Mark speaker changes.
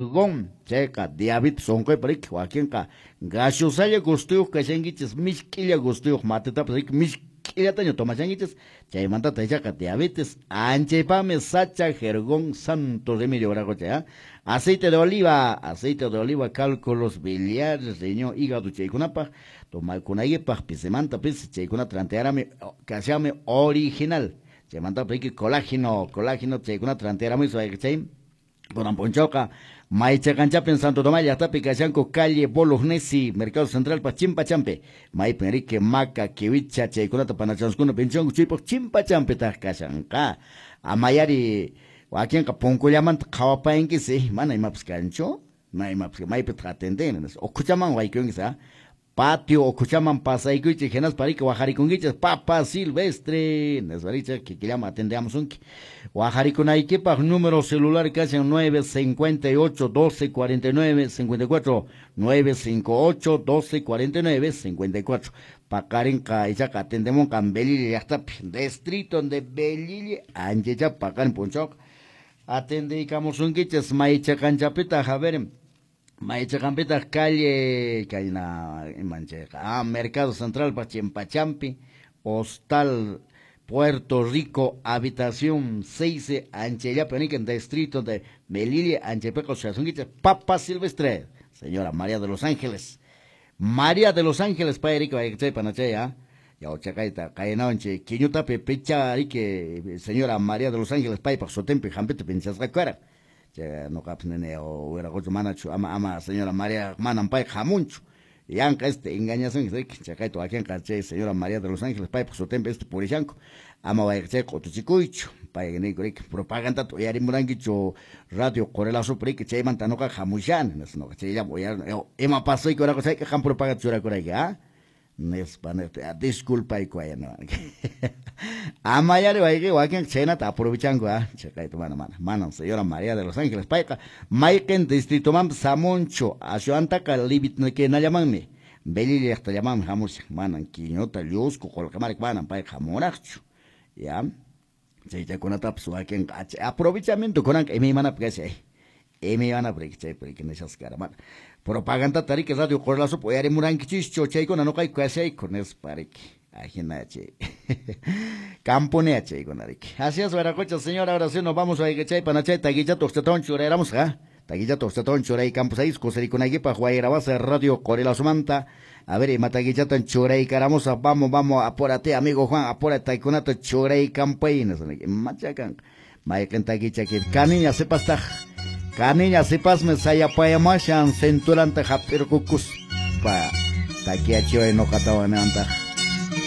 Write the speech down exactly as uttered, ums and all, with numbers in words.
Speaker 1: Jergón, chayqa diabetes unquypaq riki, wakinqa gaseosalla gustuyuq kashankichis, misk'illa gustuyuq matitapas riki misk'illataña tomashankichis, chaymantataq ichaqa diabetes anchaypaqmi sacha jergón santo remedio waraqucha, aceite de oliva, aceite de oliva, cálculos biliares, riñón, hígado chaykunapaq tomakunaykipaq pisimanta pisi chaykunata rantiarami kashami original. Chaymantapis riki colágeno, colágeno chaykunata rantiaramuy chay kunan p'unchawqa Maychaqanchapin Santo Tomás llaqtapi kashanku calle Bolognesi, Mercado Central pa Chimpachampi, maypin riki maca, kiwicha chaykunata panachanskuna pinchanku chaypaq Chimpachampitaq kashanqa. Amayari wakinqa punkullamanta qhawapayankis, mana imapas kanchu, mana imapas maypitaq atenden, ukhuchaman waykunkis, ah patio ukhuchaman pasaykuychik hinaspa riki waqarikunkichis Papa Silvestre, nispa riki kikillaman atendeamusunki. Waqarikunaykipaq número celular kashan nueve cincuenta y ocho doce cuarenta y nueve cincuenta y cuatro, nueve cinco ocho doce cuarenta y nueve cincuenta y cuatro. Paqarinqa ichaqa atendemunqa Belille llaqtapi, distrito de Belille anchacha paqarin p'unchawqa atendeykamusunkichis maychaqanchapitaq, a ver, maychaqanpitaq calle kayna imanchayqa, ah, Mercado Central pa Chimpachampi, Hostal Puerto Rico, habitación seis, anchallapi nikan distrito de Melilla, anchaypiqa ushasunkichis Papa Silvestre, señora María de los Ángeles, María de los Ángeles pay riki chay panachay, ah, yawchaqayta qaynawanchik kiñutapi picha riki señora María de los Ángeles paypaq sutinpi hampita pinchasqa kara. Chay noqapas nini wiraquchu manachu ama ama señora María manan payqa hamunchu. Yanqa este engañasunki riki chaqayta wakinqa chay señora María de los Ángeles paypaq sutinpi este purishanku. Ama wayqichay q'utuchikuychu pay niyku riki propagandata uyarimurankichu radio Qorilazupi riki chaymanta noqaqa hamushani nispa noqa chayllapi uyarini ima pasayku wiraqucha chayqa qam propaganda churakurayki, ah nispa nispa disculpayku ayana. Amayari wayqi wakinqa chaynata aprovechanku, ah chaqayta mana mana manan señora María de los Ángeles payqa mayqin distritomanpas hamunchu ashwantaqa libitnikinallamanmi Belille llaqtallamanmi hamushan manan Quiñota Llusco Qolqamarka manan payqa hamunraqchu, ya chaychakunatapas wakinqa aprovechamiento kunanqa imaymanapi kashan, imaymanapi riki chaypi riki nishasqa kara mana propagandata riki radio Qorilazupi uyarimurankichishchu chaykuna noqayku kashayku nispa riki ajina chay camponea chaykuna riki. Así es, wiraqucha señora, ahora sí nos vamos a chay panachay taquillata uqchatawan churayramusqa, taquillata uqchatawan churay campus kusirikunaykipaq wayrawasa radio Qorilazumanta. A ver, ima taquillatan churaykaramusaq, vamos, vamos, apúrate amigo Juan, apúrate taykunata churaykampay nispa imachakanqa mayqin taquichaki kaniña sipastaq kaniña sipasmi sayapayamashan cinturanta hap'irqukuspa takiachiway noqatawan nintaq.